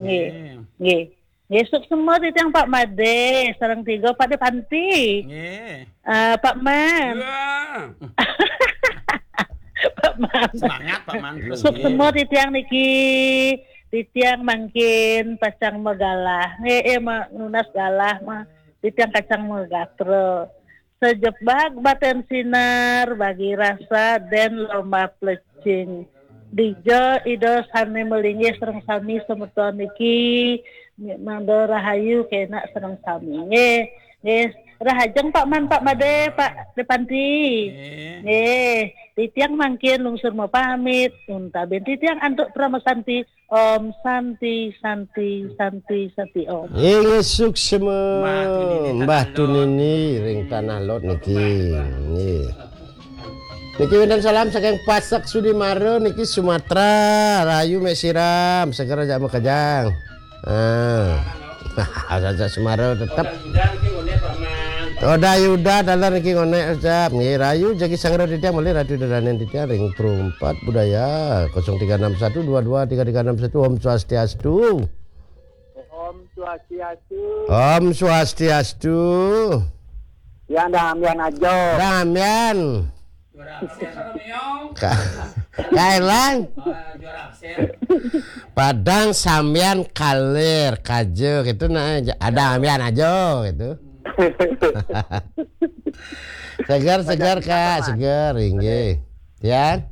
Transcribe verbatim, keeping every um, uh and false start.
Nggih. Nggih. Nggih, suksma titiang Pak Made, sareng tiga Pak De Panti. Nggih. Eh, Pak Man. Wah. Pak Man. Semangat, Pak Man. Terus, suksma nggih. Titiang niki, titiang mangkin pacang magalah. Nggih, eh, ma-, nunas galah mah. Titiang kacang magatra. Sejebak baten sinar, bagi rasa den lomba plecing. Dija Ida sane melinggih sareng sami semeton niki, mangda rahayu kena sareng sami. Nggih, nggih. Rahajeng Pak Man, Pak Made, Pak De Panti. Nggih. Nggih, titiang mangkin lungsur mapamit, untaben titiang antuk parama santi. Om Santi, Santi, Santi, Santi Om. Inggih suksma. Mbah Tunini Mbah Talon. Tunini ring Tanah Lot niki. Nggih. Niki wénten salam saking Pasek Sudimara niki Sumatera. Rahayu mek siram, seger aja makejang. Ah. Aja Sumatera tetep. Udah Yuda niki ngonek, Pak Man. Udah Yuda dalan niki ngonek ucap. Nggih, rahayu jagi sangra titiang malih Ratu Daranen titiang ring Pro empat Budaya kosong tiga enam satu dua dua tiga tiga enam satu. Om Swastiastu. Om Swastiastu. Om Swastiastu. Ya, damian aja. Damian. Juara absen. Ka-, Kailang. Oh, juara absen. Padang sambian kalir kaja gitu nah, ada damian aja gitu. Segar, segar, Kak, segar, inggih. Ya.